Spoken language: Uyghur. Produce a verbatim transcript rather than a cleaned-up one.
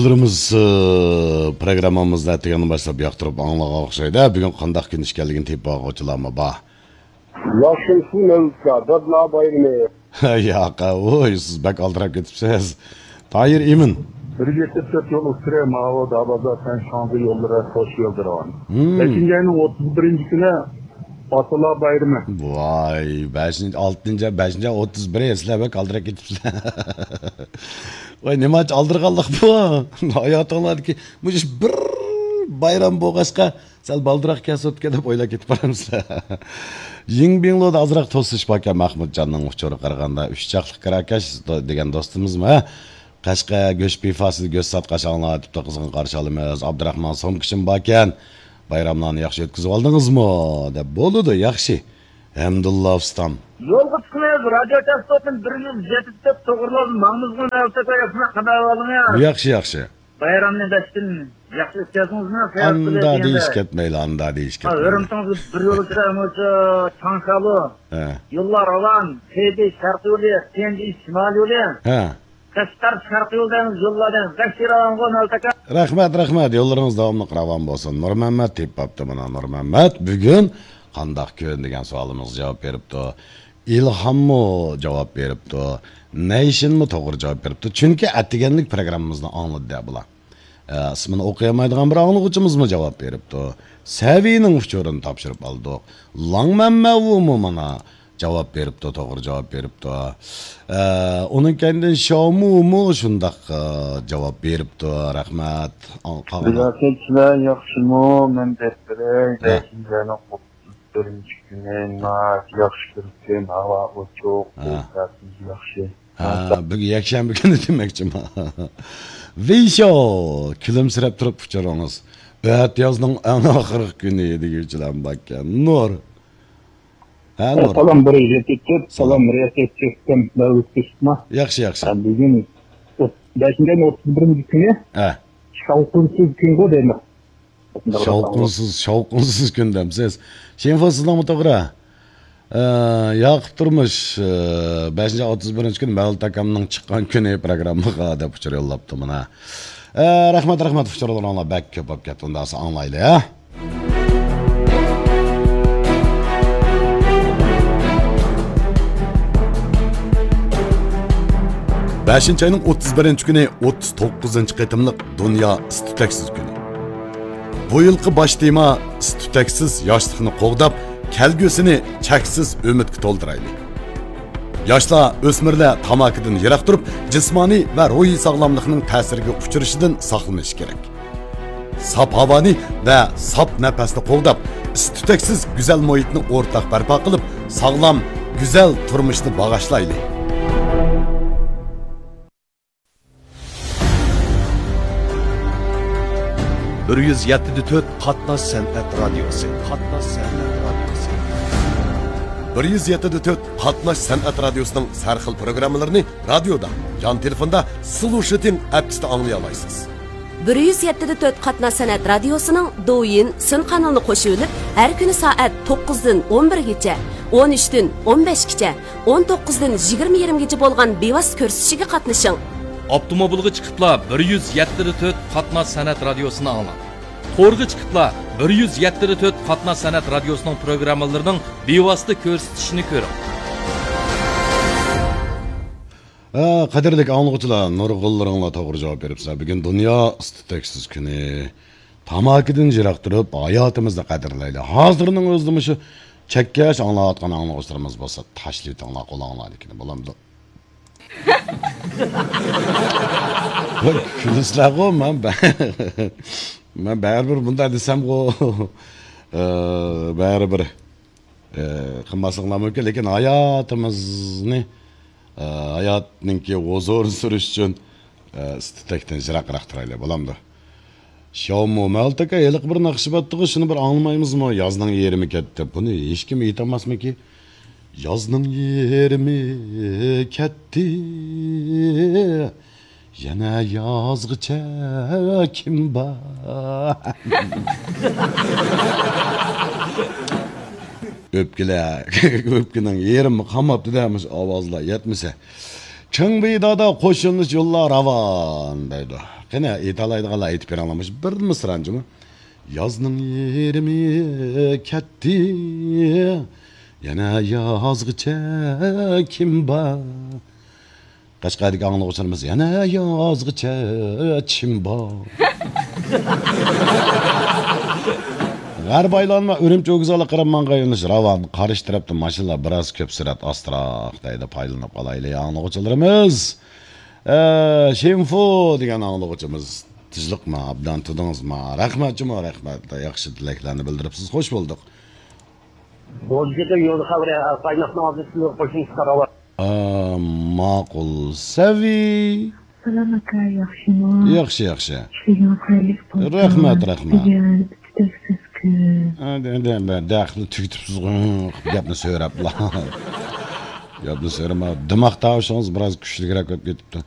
يوللىرىمىز، ئى، پروگراممىمىزنى ئەتىگەندىن باشلاپ ياقتۇرۇپ ئاڭلىغان ئوخشايدۇ. بۈگۈن قانداق كۈن ئىكەنلىكىنى تېپىپ ئالغۇچىلارمۇ بار. ياخشىمۇسىز مەۋلۇتكا، دادىلار بايرىمى. ياق، ۋوي، سىز بەك ئالدىراپ كېتىپسىز. تاھىر ئىمىن. بىر يۈز يەتمىش تۆت يول ئۇچۇرى ماۋۇ دابازا سەن شاڭزى يوللىرى خوش يولدۇرغان. Hmm. بەشىنچى ئاينىڭ ئوتتۇز بىرىنچى كۈنى ئاتىلار بايرىمى. ۋاي، بەشىنچى، ئالتىنچى، بەشىنچى ئاي ئوتتۇز بىرى، سىلەر بەك ئالدىراپ كېتىپسىلەر. ۋاي، نېمانچە ئالدىرىغانلىق بۇ؟ ھاياتىڭلاردىكى مۇشۇ بىر بايرام بولغاچقا، سەل بالدۇراق كەلسە ئوتكە دەپ ئويلاپ كېتىپ بارامسىلەر. يىڭبىڭلۇدا ئازراق توسۇش باركەن، مەخمۇتجاننىڭ ئۇچۇرىغا قارىغاندا، ئۈچ چاقلىق كىراكەش دو-، دېگەن دوستىمىزمۇ، ھە؟ قەشقەر گۆش پىفاسىدا گۆش ساتقاچ ئاڭلاۋېتىپتۇ، قىزغىن قارشى ئالىمىز. ئابدۇراخمان سومكىشىم باركەن، بايراملارنى ياخشى ئۆتكۈزۈۋالدىڭىزمۇ؟ دەپ. بولىدۇ، ياخشى. ھەمدۇللا ئۇستام. يولغا چىقىمىز، رادىيو چاستوتىنى بىر يۈز يەتمىش تۆت توغرىلاپ ماڭىمىزغۇ نەۋسەتە ياپما قادا ئالىڭىز. ياخشى، ياخشى. بايرامنى بەشتىن ياخشى ئۆتكەزدىڭىزمۇ؟ ئاندا دېيىش كەتمەيلى، ئاندا دېيىش كەتمەيلى. ھۆرمىتىڭىز بىر يول ئىچىدە مۇشۇ چاڭشالۇ. ھە. يوللار راۋان، تېبى شەرقىي يولى، تيەنجى شىمالىي يولى. ھە. قەشقەر شەرقىي يول دەيمىز، يوللار دەيمىز. بەك راۋانغۇ نەۋسەتە. رەھمەت، رەھمەت. يوللىرىڭىز داۋاملىق راۋان بولسۇن. نۇرمەممەت تېپىپ ئاپتۇ مانا، نۇرمەممەت. بۈگۈن قانداق كۈن دېگەن سوئالىمىزغا جاۋاب بېرىپتۇ. ئىلھاممۇ جاۋاب بېرىپتۇ. نەيشىنمۇ توغرا جاۋاب بېرىپتۇ. چۈنكى ئەتىگەنلىك پروگراممىمىزنى ئاڭلىدى دە بۇلار. ئە، ئىسمىنى ئوقۇيالمايدىغان بىر ئاڭلىغۇچىمىزمۇ جاۋاب بېرىپتۇ. سەۋىنىڭ ئۇچۇرىنى تاپشۇرۇپ ئالدۇق. لاڭمەنمەۋۇمۇ مانا جاۋاب بېرىپتۇ، توغرا جاۋاب بېرىپتۇ. ئە، ئۇنىڭ كەينىدىن شاۋمۇمۇ شۇنداق، ئە، جاۋاب بېرىپتۇ. رەھمەت. ئاڭ-، قالغان رىياسەتچىلەر ياخشىمۇ؟ مەن دەپ بېرەي. ھە. بەشىنچى ئاينىڭ ئوتتۇز بىرىنچى كۈنى ناھايىتى ياخشى كۈن، ھاۋا ئوچۇق، ھە. ئوبدانسىز ياخشى. ھە، بۈگۈن يەكشەنبە كۈنى دېمەكچىمەن. ۋېيشو، كۈلۈمسىرەپ تۇرۇپ ئۇچۇرىڭىز. ئەتىيازنىڭ ئەڭ ئاخىرقى كۈنى دېگۈچىلەر باركەن. نۇر. ھە، نۇر. سالام، بىر يۈز يەتتە تۆت، سالام. سالام، رىياسەتچى ئۇكام، مەۋلۇت كۆسۈپما. ياخشى، ياخشى. ھە، بۈگۈن ئوت-، بەشىنچى ئاينىڭ ئوتتۇز بىرىنچى كۈنى. ھە. شاۋقۇنسىز كۈنغۇ دەيمەن. شاۋقۇنسىز، شاۋقۇنسىز كۈن دەمسىز. شېنفو، سىزنىڭمۇ توغرا. ئە، ياقۇپ تۇرمۇش، ئە، بەشىنچى ئاي ئوتتۇز بىرىنچى كۈنى مەۋلۇت ئاكامنىڭ چىققان كۈنى پروگراممىغا دەپ ئۇچۇر يوللاپتۇ مانا. ئە، رەھمەت، رەھمەت، ئۇچۇرلىرىڭلار بەك كۆپ بولۇپ كەتتى. ئۇنداقسا ئاڭلايلى، ھە؟ بەشىنچى ئاينىڭ ئوتتۇز بىرىنچى كۈنى ئوتتۇز توققۇزىنچى قېتىملىق دۇنيا ئىس-تۈتەكسىز كۈنى. بۇ يىلقى باش تېما ئىس-تۈتەكسىز ياشلىقنى قوغداپ، كەلگۈسىنى چەكسىز ئۈمىدكە تولدۇرايلى. ياشلار، ئۆسمۈرلەر تاماكىدىن يىراق تۇرۇپ، جىسمانىي ۋە روھىي ساغلاملىقنىڭ تەسىرىگە ئۇچرىشىدىن ساقلىنىشى كېرەك. ساپ ھاۋانى ۋە ساپ نەپەسنى قوغداپ، ئىس-تۈتەكسىز گۈزەل مۇھىتنى ئورتاق بەرپا قىلىپ، ساغلام، گۈزەل تۇرمۇشنى باغاشلايلى. بىر يۈز يەتتە دە تۆت قاتناش سەنئەت رادىيوسى. قاتناش سەنئەت رادىيوسى. بىر يۈز يەتتە دە تۆت قاتناش سەنئەت رادىيوسىنىڭ سەرخىل پروگراممىلىرىنى رادىيودا، يان تېلېفوندا، سلۇشىتىڭ ئەپكىسىدە ئاڭلىيالايسىز. بىر يۈز يەتتە دە تۆت قاتناش سەنئەت رادىيوسىنىڭ دوۋيىن سۈن قانىلىنى قوشۇۋېلىپ، ھەر كۈنى سائەت توققۇزدىن ئون بىرگىچە، ئون ئۈچتىن ئون بەشكىچە، ئون توققۇزدىن يىگىرمە يېرىمگىچە بولغان بىۋاسىتە كۆرسىتىشىگە قاتنىشىڭ. ئاپتوموبىلغا چىقىپلا بىر يۈز يەتتە دە تۆت قاتناش سەنئەت رادىيوسىنى ئاڭلاڭ. تورغا چىقىپلا بىر يۈز يەتتە دە تۆت قاتناش سەنئەت رادىيوسىنىڭ پروگراممىلىرىنىڭ بىۋاسىتە كۆرسىتىشىنى كۆرۈڭ. ھە، قەدىرلىك ئاڭلىغۇچىلار، نۇرغۇنلىرىڭلار توغرا جاۋاب بېرىپسىلەر. بۈگۈن دۇنيا ئىس-تۈتەكسىز كۈنى. تاماكىدىن يىراق تۇرۇپ، ھاياتىمىزنى قەدىرلەيلى. ھازىرنىڭ ئۆزىدە مۇشۇ چەككەش ئاڭلاۋاتقان ئاڭلىغۇچىلىرىمىز بولسا، تاشلىۋېتىڭلار قولۇڭلارنىڭكىنى، بولامدۇ؟ ۋاي، كۈلىسىلەرغۇ، مەن بە-، مەن بەرىبىر بۇنداق دېسەمغۇ، ئە، بەرىبىر، ئە، قىلماسلىقلار مۇمكىن، لېكىن ھاياتىمىزنى، ئە، ھاياتنىڭكى ھۇزۇرىنى سۈرۈش ئۈچۈن، ئە، ئىس-تۈتەكتىن يىراقراق تۇرايلى، بولامدۇ؟ شاۋمۇ، مەۋلۇت ئاكا، ھېلىقى بىر ناخشا بارتتىغۇ، شۇنى بىر ئاڭلىمايمىزمۇ؟ يازنىڭ يېرىمى كەتتى. بۇنى ھېچكىم ئېيتالماسمىكى؟ يازنىڭ يېرىمى كەتتى، يەنە يازغىچە كىم بار؟ ئۆپكىلەر، ئۆپكىنىڭ يېرىمى قالماپتۇ-دە، مۇشۇ ئاۋازلار يەتمىسە. چىڭ بېيدادا قوشۇلۇش يوللار راۋان دەيدۇ. قېنى، ئېيتالايدىغانلار ئېيتىپ بېرىڭلار، مۇشۇ بىر مىسرانچىمۇ؟ يازنىڭ يېرىمى كەتتى، يەنە يازغىچە كىم بار؟ قەشقەردىكى ئاڭلىغۇچىلىرىمىز، يەنە يازغىچە چىم بار. غەرب ئايلانما ئۈرۈمچى ۋوگزالى قىرىم ماڭغان يۆنىلىش راۋان، قارشى تەرەپتە ماشىنىلار بىراز كۆپ سۈرئەت ئاستىراق دەيدۇ، پايدىلىنىپ قالايلى ئاڭلىغۇچىلىرىمىز. ئە، شىنفۇ دېگەن ئاڭلىغۇچىمىز، تىنچلىقما، ئابدان تۇردىڭىزما؟ رەھمەت جۇمۇ، رەھمەت، ياخشى تىلەكلەرنى بىلدۈرۈپسىز، خوش بولدۇق. بولدى، يول خەۋىرى، قايناقنىڭ ئالدىدا سىزگە قوشۇلۇشقا راۋان. ئا، ماقۇل سەۋىي. سالام ئاكا، ياخشىمۇ؟ ياخشى، ياخشى. ئىشلىرىڭىز خەيرلىك بولسۇن. رەھمەت، رەھمەت. بۈگۈن ئۈچ دەرسىز كۈن. ھە، دە-، دە-، بە-، دەخلى تۈگىتىپسىزغۇ، گەپنى سۆرەپلا. گەپنى سۆرىمە. دىماق تاۋۇشىڭىز بىراز كۈچلۈكرەك بولۇپ كېتىپتۇ.